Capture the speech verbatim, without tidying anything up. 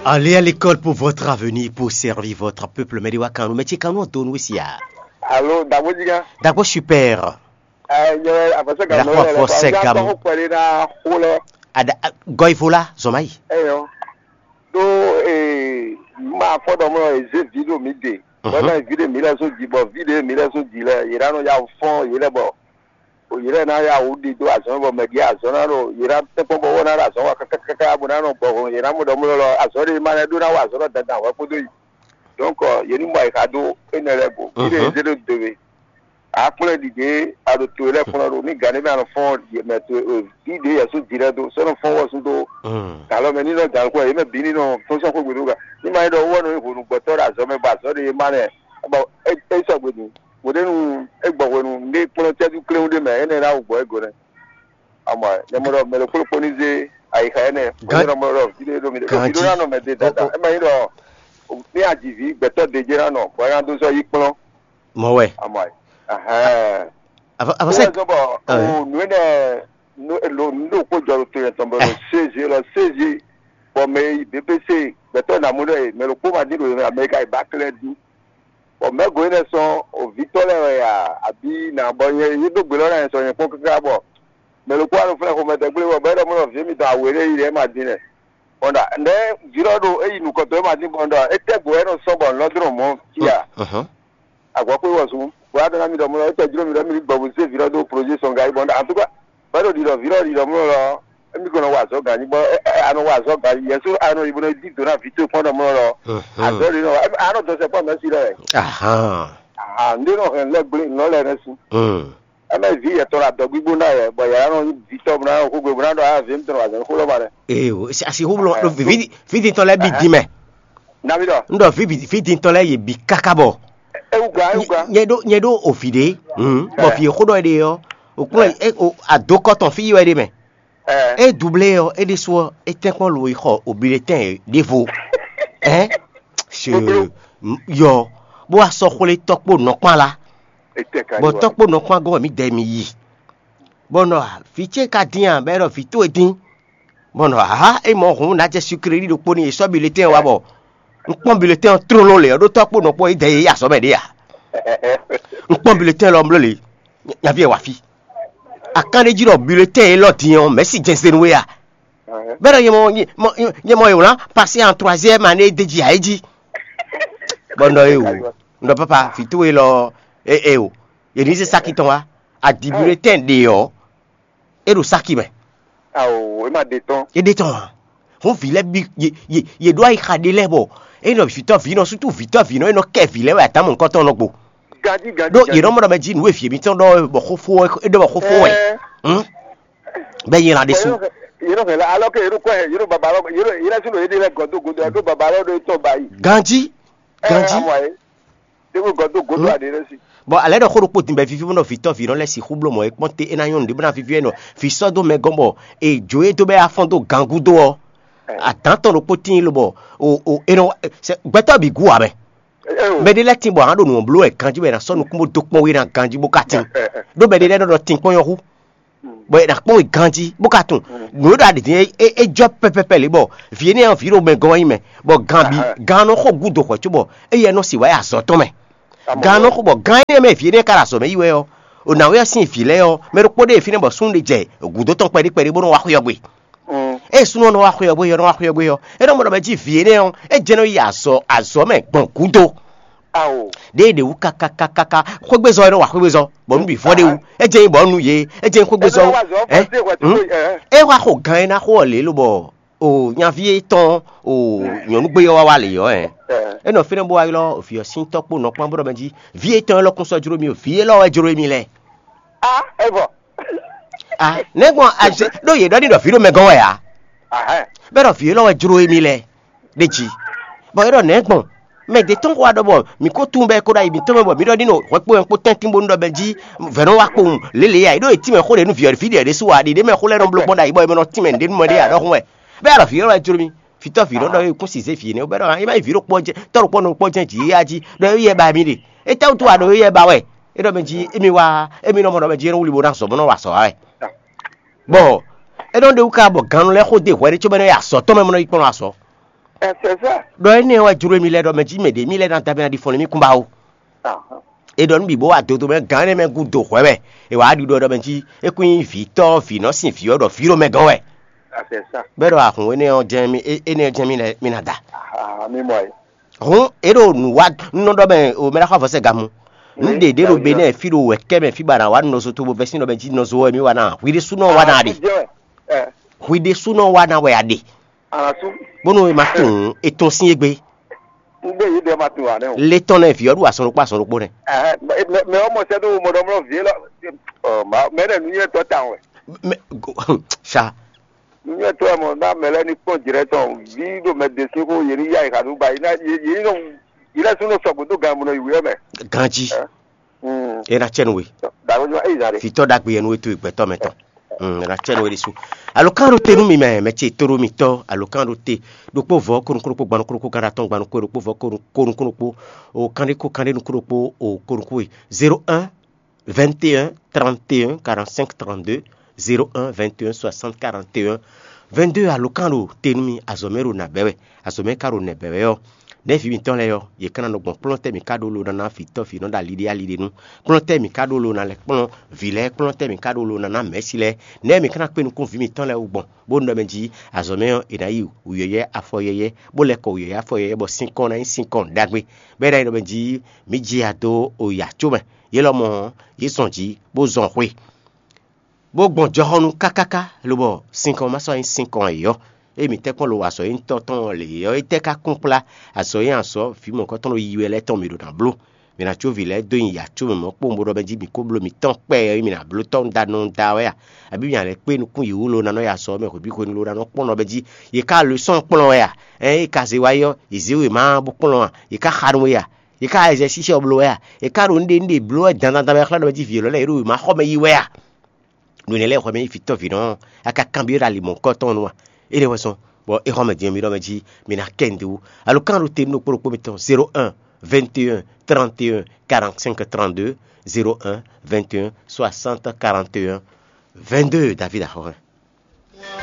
Allez à l'école pour votre avenir, pour servir votre peuple. Mɛ ɖé wá kan nu, mɛ ce kan nu ɔ́ donu sia. Alo, Dagbo Jiga. Dagbo super. Ɛ, nyɛ afɔsɛ ga La nɔ foi lɛ lɛ force ba ga ga mo. Ko kwɛli na xo lɛ. Ada gɔivo la zɔma yi. Eyɔ. Do ee ma fɔ dɔ mɔ eze vi do mi de. Mhm. Bɔ na vi de mi lɛ so ji bɔ vi de mi lɛ so ji lɛ yira nɔ ya fɔn yira bɔ. O yira na ya wo di do azɔn bɔ mɛ di azɔn na do yira tɛkpɔ bɔ wɔ na do azɔn wa kaka kaka bo na nɔ gbɔ hɔn yira mo dɔ mo lɔ azɔn de ma lɛ do na wa azɔn dɔ dandan wɛ kpodo yi. Donc yeni mɔ yi ka do enɛ lɛ go. Fi de Mhm. eze do do we. Akplɔ́n ɖiɖe aɖo towe lɛ́ɛ kplɔ́n ɖo ní gǎn ɖé mɛ anɔ fɔ́n mɛ towe ɖi ɖě yɛ̌sú jǐ lɛ́ɛ dó sɔ́ nɔ fɔ́n wɔ́sú dó gǎn lɔ mɛ ní nɔ gǎn kú yě mɛ bǐ ní nɔ tɔ́n sɔ́ xwé gbe nú gǎn ní ma nyí ɖɔ wú ɔ́ nɔ nyí hwenu gbɔtɔ́ ɖo azɔ̌ mɛ bɔ azɔ̌ ɖé yě má nɛ bɔ é sɔgbe din hweɖénu é gbɔ hwenu ní kplɔ́n cɛ́jú kléwún ɖé mɛ énɛ́ ná wǔ gbɔ é go nɛ́. Amɔ nyɛ mɔ ɖɔ mɛ ɖokpó ɖokpó ní zé ayixa énɛ́ Gán- nyɛ mɔ ɖɔ vidéo ɖo mi ɖe Gán ɖo vidéo jí. Ná nɔ mɛ de dada é ma nyí ɖɔ ní aji vǐ gbɛtɔ́ ɖe jɛ ná nɔ bɔ é ná dó sɔ́ yí kplɔ́n. Mɔ wɛ. Amɔ ayi. Ahɛn. Avɔ avɔ Wọ́n sɛ. Sọ bɔ Ɛ. O nue ɖe lo nu ɖo kpó jɔ to yɛn tɔn bɔ lo sezi lɔ sezi bɔ mɛ yi B P C gbɛtɔ na mu ɖe mɛ lo kpó ma di ɖo Amɛrika yi ba klɛ du. Bɔ mɛ go yi nɛ sɔn o vitɔ lɛ wɛ ya abi na bɔ nyɛ yi ɖo gbe lɔ na yɛ sɔ nyɛ kpɔn kaka bɔ mɛ lo kpó alo fúnɛ xomɛ tɛ gblé bɔ bɛ ɖɔ mɔ vi mi tɔn awe ɖe yi ɖe ma di nɛ. Bɔn ɖa ndɛ vi lɔ ɖo eyi nukɔtɔ ma di bɔn ɖɔ etɛ go wɛ nɔ sɔn bɔ lɔdrɔn mɔ fia. Ahɔn. Agwɔkpé wɔ sun bóyá ɖɔ ná mi ɖɔ mɔ lɔ étɔ jló mi ɖɔ mi ní gbɔ bó zé vǐ lɔ dó projet sɔn ga yi bɔ en tout cas bá ɖo ɖiɖɔ vǐ lɔ ɖiɖɔ mɔ lɔ émi kò nɔ wa azɔ̌ gǎn bɔ a nɔ wa azɔ̌ gǎn yɛsó a nɔ yi bó nɔ dí dǒ ná vǐ towe kpɔ́n ɖɔ mɔ lɔ azɔ̌ ɖi nɔ a nɔ dɔn sɛ kpɔ́n mɛsí lɔ wɛ. Ahan. Aha ndé nɔ hɛn lɛ gblé nɔ lɛ nɛ sun. Ɛmɛ vǐ yɛtɔ la dɔ gbígbó ná yɛ bɔ yàrá nɔ vǐ tɔ bó ná xógbe bó ná ɖɔ a vǐ mi tɔn wà zɛn xó lɔ ma ɖɛ. Ee o, asi xó blɔ Aha. Vǐ vǐ tɔn lɛ bi dín mɛ. Nabi ɖɔ. N ɖɔ vǐ vǐ dín tɔn lɛ yě bi káká bɔ. Ewu gba ewu gba. Nyɛ ɖó nyɛ ɖó o vǐ ɖé. Bɔ vǐ e xó ɖɔ é ɖe ɔ́, o kplɔ́n é o adokɔ tɔn fí yi wɛ ɖe mɛ. Ɛ. É dublé ɔ́, é ɖésú ɔ́, é tɛ́nkpɔ́n lo yi xɔ obilɛtɛn ɖěvo. Ɛn. Se yɔ bó wá sɔ́ xwlé tɔ́kpó nɔkpán la. Etɛ ka Bɔ ɖi wa. Tɔ́kpó nɔkpán gɔ́ wɛ mǐ dɛ mi yi. Bɔ nɔ vǐ ce ka dín a bɔ é ɖɔ vǐ towe dín. Bɔ nɔ ha é mɔ hǔn ná jɛ sukreli ɖokpó ní yě sɔ́ biletɛn wa bɔ un kpɔ́n biletɛn ɔ́ tlóló lě ɔ́ ɖó tɔ́kpó nɔkpɔ́n é dɛ yě yi azɔ̌ mɛ ɖé a. Un kpɔ́n biletɛn lɔ bló lě nyaví ɛ wá fí. Akán ɖé jí ɖɔ biletɛn élɔ́ din ɔ́ mɛ̌si jɛnsɛn nú we a. Bɛ́ ɖɔ nyɛ mɔ nyɛ mɔ è wlǎn pasé an troisième année d'é jí ǎ é jí. Bɔ un ɖɔ é o, un ɖɔ papa vǐ towe lɔ é é o, yě ní zé sáki tɔn wá. Adi biletɛn ɖe ɔ́, é ɖo sáki mɛ. Ao, é ma ɖe tɔn. É ɖe tɔn ǎ. Hǔn vǐ lɛ́ɛ bí yě yě yě ɖó ayixa ɖé lɛ́ɛ bɔ é nɔ vǐtɔ́ vǐ nɔ sútú vǐtɔ́ vǐ nɔ é nɔ kɛ vǐ lɛ́ɛ wɛ atamɔ̌ nukɔntɔn nɔ gbo. Gadi gadi. Ɖó yě nɔ mɔ ɖɔ mɛ jí nǔ e vǐ mǐtɔn ɖɔ wɛ bɔ xófó wɛ é ɖɔ bɔ xófó wɛ. Hǔn bɛ nyi lan ɖésú. Yé nɔ hɛn la alɔ ke yé nɔ kɔ hɛn yé nɔ baba lɔ yé nɔ yé nɔ sinɔ yé de lɛ gɔdo godo yɛ ɖó baba lɔ ɖo tɔ ba yi. Ganji. Ganji. Débò gɔdó gòdó àdé lɛ si. Bɔ alɛ ɖɔ xó ɖokpó din bɛ vivi bɔ nɔ vitɔ vi nɔ lɛ si xú bló mɔ e kpɔn te e na nyɔnu ɖe bɔ na vivi ɛnɔ vi sɔ dó mɛ gɔn bɔ e jo e dó bɛ afɔn dó gan gúdo ɔ adán tɔn ɖokpó tín lobɔ o o e nɔ gbɛtɔ bi gu amɛ. Mɛ ɖé lɛ tin bɔ ahan ɖo nǔ bló wɛ ganji bɔ e na sɔ nukún bó dó kpɔn wé na ganji bó ka tin ɖó mɛ ɖé lɛ nɔ ɖɔ tin kpɔn yɔ hu. Bɔ è nǎ kpɔ́n we ganjí bó ka tunwun nǔ e ɖo aɖǐ din é jɔ pɛpɛpɛ lě bɔ vǐ énɛ́ ɔ́ vǐ ɖo mɛ gɔ́n wɛ nyí mɛ, bɔ gan bǐ gan nɔ xo gúdo hwɛ̌ cóbɔ éyɛ́ nɔ sixú wá yi azɔ̌ tɔn mɛ. Gan nɔ xo bɔ gan énɛ́ mɛ vǐ énɛ́ ka ɖo azɔ̌ mɛ yi wɛ ɔ́, o nǎwe ɔ́ sín vǐ lɛ́ɛ ɔ́, mɛ ɖokpó ɖé e fínɛ́ bɔ súnnu ɖé jɛ gǔdo tɔn kpɛɖé kpɛɖé bó nɔ wá xwé ɔ́ gbe. Ée súnnu ɔ́ nɔ wá xwé ɔ́ gbé ɔ́, nɔ wá xwé ɔ́ gbé ɔ́, é nɔ mɔ ɖɔ mɛ jí vǐ énɛ́ ɔ́, é jɛ́n nɔ yi azɔ̌ azɔ̌ mɛ gbɔn gǔdo. Ao. Ɖěe ɖě wú kakakakaka xwégbézɔ e nɔ wa xwégbézɔ bɔ nú bǐ vɔ ɖé wú. É jɛ nyí bɔ nú yě, é jɛ nyí xwégbézɔ wú. Ɛ? É wá xo gan e ná xo ɔ́ lě lobɔ o nyaví étɔn o nyɔ̌nugbé ɔ́ wá wá lě ɔ́ ɛ. É nɔ fínɛ́ bó wá ylɔ́ vǐ ɔ́ sín tɔ́ kpó nɔ kpán bó ɖɔ mɛ jí vǐ étɔn élɔ́ kún sɔ́ jló mì o, vǐ élɔ́ wɛ jló mì lɛ́ɛ. A é vɔ. A nɛ̌ gbɔn azɛ ɖó yě ɖɔ ní ɖɔ vǐ ɖo mɛ gɔ́n wɛ ǎ. Ahɛn. Bɛ́ ɖɔ vǐ élɔ́ wɛ jló émí lɛ́ɛ ɖ'é jí. Bɔ é ɖɔ nɛ̌ gbɔn mɛ ɖě tɔn xó wá ɖɔ bɔ mǐ ko tunwun bɔ é ko ɖo ayi mǐtɔn mɛ bɔ mǐ ɖɔ ní nɔ hwɛ kpo wɛ kpó tɛ́ntin bónú ɖɔ bɛ́ jí vɛ̌ nɔ wá kpowun lě lě ǎ. É ɖó yě tínmɛ xó ɖě nú vǐ ɔ́, vǐ ɖě ɖésú ǎ, ɖiɖě mɛ xó lɛ́ɛ nɔ bló gbɔn ɖo ayǐ bɔ è mɛ nɔ tínmɛ nǔɖé nú mɛ ɖé ǎ ɖɔhun wɛ. Bɛ́ ɖɔ vǐ élɔ́ wɛ jló mí. Fítɔ́ vǐ nɔ ɖɔ é kún si zé vǐ énɛ́ bɛ́ ɖɔ é má nyí vǐ ɖokpó jɛ́n tɔ́ ɖokpó nɔ kpɔ́ jɛ́n jǐ yá jí ɖɔ é yɛ ba mì ɖe. Étɛ́wútu wá ɖɔ é yɛ ba wɛ? É ɖɔ mɛ jí émi wá émi nɔ mɔ ɖɔ mɛ jí é nɔ wlí bó ná zɔ bó nɔ wa azɔ̌ wa wɛ. Bɔ É nɔ ɖe wú ká bɔ gannú lɛ́ɛ xó dó hwɛ ɖé cóbɔ é nɔ yi azɔ̌ tɔn mɛ, bó nɔ yi kplɔ́n azɔ̌. Ɛsɛ sá. Ɖɔ énɛ́ wɛ jló mì lɛ́ɛ ɖɔ mɛ jí mɛ ɖě mì lɛ́ɛ ná da mì ná ɖi fɔn nú mì kún ba ó. Ahán. È ɖɔ nú bǐ bó wá dodo mɛ gǎn énɛ́ mɛ gúdo hwɛ wɛ. È wǎ ɖiɖɔ ɖɔ mɛ jí é kún nyí vǐ tɔ́ vǐ nɔ sin vǐ ɔ́ ɖɔ vǐ ɖo mɛ gɔ́n wɛ. Ɛsɛ sá. Bɔ é ɖɔ ahun énɛ́ ɔ́ jɛ́n mì énɛ́ ɔ́ jɛ́n mì lɛ́ɛ mì ná da. Ahán, mi mɔ ɛ. Hǔn é ɖo nǔ wa nú nɔ ɖɔ mɛ o mɛ ɖaxó avɔsɛ́ gamu. Nǔ ɖě ɖě ɖo be nɛ́ fí ɖo wɛ̌kɛ́ mɛ fí ba ná wá nɔ zo tobo vɛ́ sín ɖɔ mɛ jí nɔ zo wɛ mì wa ná hwi ɖésúnɔ wa ná ɖe. Hwi ɖésúnɔ wa ná wɛ a ɖe. Alasu. Bónú e ma tunwun e tɔn sín égbé. Un ɖe yě ɖe ma tunwun ǎ nɛ́ o. Le tɔn nɛ vǐ ɔ́ ɖu azɔn ɖokpó azɔn ɖokpó nɛ. Ɛhɛn, mɛ mɛ mɛ ɔ́ mɔ sɛ́ dó mɔ ɖɔ mlɔ vǐ élɔ́. Ɔ ma mɛ ɖɛ nǔnywɛ́tɔ́ tawun wɛ. Mɛ sa. Nǔnywɛ́tɔ́ wɛ mɔ ná mɛ lɛ́ɛ ní kpɔ́n jǐ lɛ́ɛ tɔn vǐ ɖo mɛ ɖe sín xó yě ní yá yě xa nú ba yě ná yě yě ní nɔ yě lɛ́ɛ sún nɔ sɔgbe dó gan mɔ nɔ yi wǔyɔ mɛ. Ganjí. Ɛ. Mm. E ná cɛ nú we. Dàgbé jɔ eyi zan de. Fitɔ ɖagbe yɛ nú we to gbɛtɔ mɛ tɔn. Mm, e ná cɛ nú we ɖésú. Alo kan ɖo te nú mi mɛ mɛ ce to ɖo mi tɔ alo kan ɖo te ɖokpó vɔ kónú kónú kpó gbanu kónú kó kan ɖo atɔn gbanu kó ɖokpó vɔ kónú kónú kónú kpó o kan ɖé kó kan ɖé nú kó ɖokpó o kónú kó we zéro un vingt et un trente et un quarante-cinq trente-deux, zéro un vingt et un soixante quarante et un vingt-deux. Alo kan ɖo te nú mi azɔ̌ mɛ ɖo nǎ bɛ́ wɛ. Azɔ̌ mɛ ka ɖo nɛ̌ bɛ́ wɛ ɔ́, nɛ̌ vǐ mǐtɔn lɛ́ɛ ɔ́, yě ka ná nɔ gbɔn kplɔ́n tɛ́ mǐ ka ɖó lo ná ná vǐ tɔ́ vǐ nɔ ɖo ali ɖé ali ɖé nu? Kplɔ́n tɛ́ mǐ ka ɖó lo ná lɛ́ kplɔ́n vǐ lɛ́ɛ? Kplɔ́n tɛ́ mǐ ka ɖó lo ná ná mɛ̌si lɛ́ɛ? Nɛ̌ mǐ ka ná kpé nukún vǐ mǐtɔn lɛ́ɛ wú gbɔn, bó nɔ mɛ jí azɔ̌ mɛ ɔ́, è nǎ yi wǔyɔ́yɔ́ afɔ yɛ́yɛ́, bó lɛ́ kɔ wǔyɔ́yɔ́ afɔ yɛ́yɛ́ bɔ sín kɔn ná nyí sín kɔn ɖagbe, bɔ é ná nyí ɖɔ mɛ jí mǐ ji ya dó oya có mɛ. Yě lɔmɔ̌ ɔ́, yě zɔn jǐ, bó zɔn xwe, bó gbɔn jɔhɔnnu kákáká, lobɔ sinkɔn ma sɔ́ nyí sinkɔn ayǐ ɔ́. Ée mǐ tɛ́ kpɔ́n lo wa azɔ̌ e nyí tɔ́ tɔn ɔ́ lě ɔ́, étɛ́ ka kún kplá azɔ̌ e azɔ̌ vǐ mɔ̌hunkɔtɔn e yi wɛ lɛ́ɛ tɔn mǐ ɖo ná bló? Mǐ ná có vǐ lɛ́ɛ dó nyi yǎ có mɛ mɔ̌ kpowun bó ɖɔ mɛ jí mǐ ko bló mǐtɔn kpɛɛ ɔ́, mǐ ná bló tɔ́ da nɔ da wɛ a? Abǐ mǐ ná lɛ́ kpé nukún yě wú lo ná nɔ yi azɔ̌ mɛ hwebǐ hwenu lo ná nɔ kpɔ́n nɔ mɛ jí? Yě ka lǒsɔ́n kplɔ́n wɛ a? Ɛn é ka zé wá yi ɔ́, yě zé we má bó kplɔ́n a? Yě ka xa nú we a? Yě ka ɛzɛsísɛ bló wɛ a? Yě ka ɖo nǔɖé nǔɖé bló wɛ dandan dandan wɛ xlɛ́ nɔ mɛ jí vǐ élɔ́ lɛ́ɛ yě ɖo wěma xɔ mɛ yi wɛ a? Nǔ énɛ́ lɛ́ɛ xɔ mɛ nyí fítɔ́ vǐ nɔ́ a ka kanbyɔ́ ɖo ali mɔ̌hunkɔtɔn nu a? Énɛ́ wɛ sɔn, bɔ é xɔ mɛ din ɔ́, mi ɖɔ mɛ jí mi ná kɛ nǔɖé wú. Alo kan ɖo te nú ɖokpó ɖokpó mitɔn zéro un vingt et un trente et un quarante-cinq trente-deux, zéro un vingt et un soixante quarante et un vingt-deux. David axɔ́ hɛn.